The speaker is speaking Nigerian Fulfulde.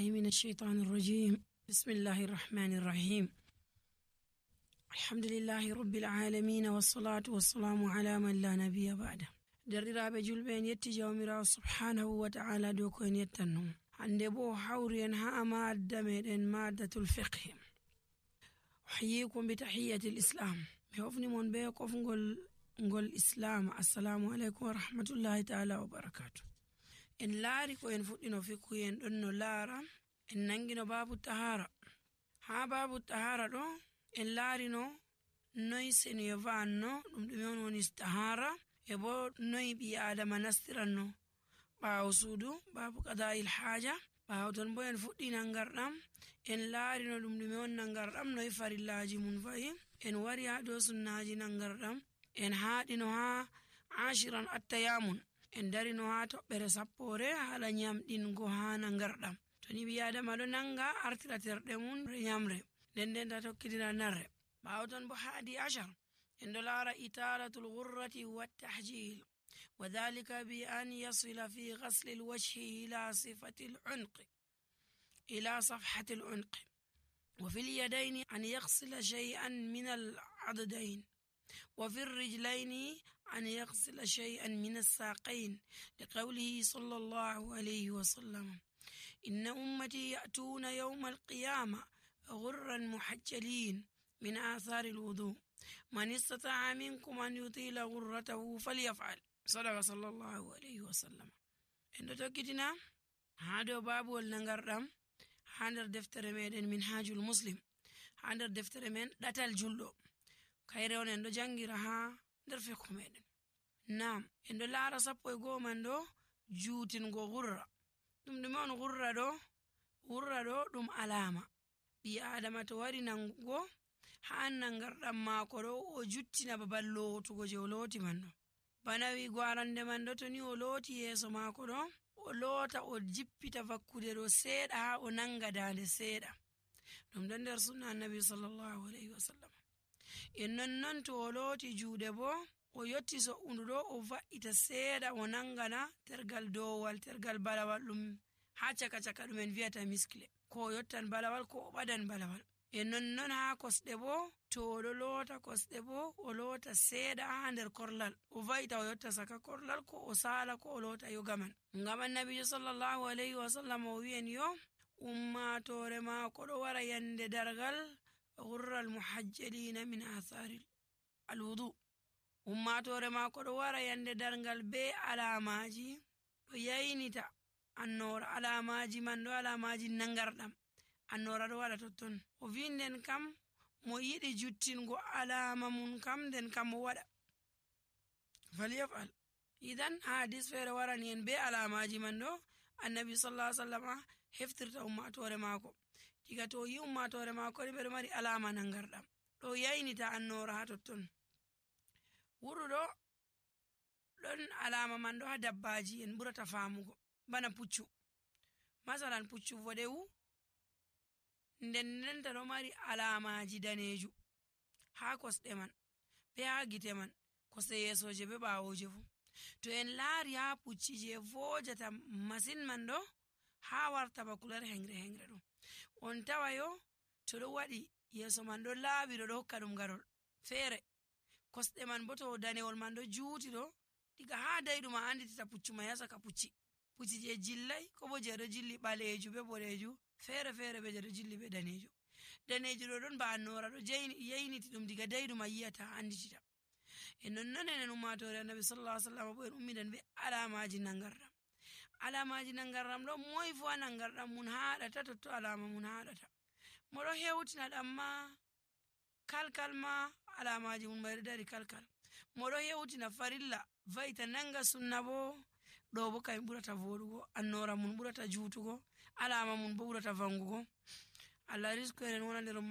من الشيطان الرجيم. بسم الله الرحمن الرحيم. الحمد لله رب العالمين والصلاة والسلام على من لا نبي بعده. درiraɓe julɓe en yetti jawmirawo subhanahu wa ta'ala dow ko en yettanno. hande bo hawri en ha madda meɗen maddatul fiqh. uhyikum bi tahiyatil islam. mi hofni mon be kofgol islam. assalamu alaikum wa rahmatullahi ta'ala wa barakatuh. en laari ko en fuɗɗino fikku en ɗon no laara en nangino babu tahara. ha babu tahara ɗo en laarino noy seniyo vanno ɗum ɗume on woni tahara e bo noy ɓi adama nastiranno ɓaawo suudu babu qada'il haja. ɓaawo ton bo en fuɗɗi nangarɗam en laarino ɗum ɗume on nangarɗam noy farillaji mum fa'i. en wari ha dow sunnaji nangarɗam en haɗino ha ashiran attayamun. en darino ha toɓɓere sappore haala nyamɗingo ha nangarɗam. to ni ɓi adama ɗo nanga artira terɗe mum nyamre nden ta tokkitina narre. ɓaawo ton bo haadi ashar en ɗo laara italatul ghurrati wattahjil wa dhalika bi an yasila fi ghasli lwajhi ila sifati lunqi ila safhati lunqi wa fi lyadaini an yaghsila shay'an min al'addain وفي الرجلين أن يغسل شيئا من الساقين لقوله صلى الله عليه وسلم إن أمتي يأتون يوم القيامة غرا محجلين من آثار الوضوء من استطاع منكم أن يطيل غرته فليفعل صدق صلى الله عليه وسلم. إن تكتنا هذا باب والنغردم هذا دفتر من منهاج المسلم هذا دفتر من داتال جلو kayre on en ɗo jangira ha nder fikku meɗen. nam en ɗo laara 11 man ɗo juutingo gurra. ɗum ɗume on gurra ɗo ɗum alama ɓi adama to wari nangugo ha nangarɗam maako ɗo o juttina babal lootugo je o looti man ɗo. bana wigo arande man ɗo to ni o looti yeeso maako ɗo o loota o jippita vakkude ɗo seeɗa ha o nanga dande seeɗa. ɗum ɗo nder sunna annabi sallallahu alaihi wasallam. en nonnon to o looti juuɗe bo o yotti so'undu ɗo o va'ita seeɗa o nangana tergal dowal tergal balawal ɗum ha caka ɗum en viyata miskle ko o yottan balawal ko o ɓadan balawal. en nonnon ha kosɗe bo to o ɗo loota kosɗe bo o loota seeɗa ha nder korlal o va'ita o yotta saka korlal ko o sala ko o loota yogaman. ngam annabijo sallallahu alaihi wasallam o wi'en yo ummatore maako ɗo wara yande dargal غر المحجلين من آثار الوضوء. ummatore maako ɗo wara yande dargal be alamaji ɗo yaynita annora. alamaji man ɗo alamaji nangarɗam annora ɗo waɗa totton. o vi nden kam mo yiɗi juttingo alama mum kam nden kam mo waɗa falyafal. idan ha hadis feere warani en be alamaji man ɗo annabi sallallahu alaihi wasallam heftirta ummatore maako. diga to yi ummatore maako ni ɓeɗo mari alama nangarɗam ɗo yaynita annora ha totton. wuro ɗo ɗon alama man ɗo ha dabbaji en ɓurata famugo bana puccu. masalan puccu voɗewu ndendenta ɗo mari alamaji daneju ha kosɗe man be ha gite man kosɗe yeesoje be ɓawoje fu. to en laari ha pucci je vojata masin man ɗo ha warta ba kular hengre ɗo on tawayo to ɗo waɗi yeeso man ɗo laaɓi ɗo hokka ɗum garol feere. kosɗe man bo to danewol man ɗo juuti ɗo diga ha dayɗum a anditita puccu man yasaka pucci je jillai ko bo je ɗo jilli ɓaleju be boɗeju feere be je ɗo jilli be daneju ɗo ɗon ba annora ɗo yayniti ɗum diga dayɗum a yiyata anditita. e nonnon enen ummatore annabi sallallahu alaihi wasallam bo en ummiɗen be alamaji nangarɗam ɗo moy fu a nangarɗam mun haɗata totto alama mun haɗata. moɗo hewtina ɗam ma kalkal ma alamaji mun mayɗo dari kalkal. moɗo hewtina farilla va'ita nanga sunna bo ɗo bo kay ɓurata voɗugo annora mun ɓurata juutugo alama mun bo ɓurata vangugo. allah risku en wona nder